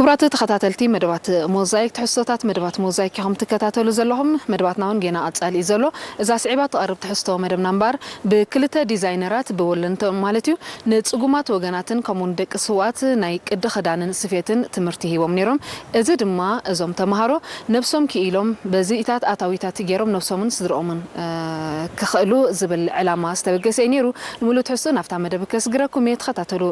ክቡራት ተኸታተልቲ መደባት ሞዛይክ፣ ትሕዝቶታት መደባት ሞዛይክ ኢኹም ትከታተሉ ዘለኹም። መደባትና እውን ጌና ቀጻሊ እዩ ዘሎ። እዛ ስዒባ ትቐርብ ትሕዝቶ መደብና እምበኣር፣ ብክልተ ዲዛይነራት፣ ብወለንተኦም ማለት እዩ፣ ንጽጉማት ወገናትን ከምኡውን ደቂ ስውኣት ናይ ቅዲ ክዳንን ስፌትን ትምህርቲ ሂቦም ነይሮም። እዚ ድማ እዞም ተምሃሮ ነብሶም ክኢሎም፣ በዚኢታት ኣታዊታት ገይሮም ነብሶምን ስድርኦምን፣ እ፣ ክኽእሉ ዝብል ዕላማ ዝተበገሰ እዩ ነይሩ። ንምሉእ ትሕዝቶ ናብታ መደብ ከስግረኩም እየ፣ ተኸታተሉ።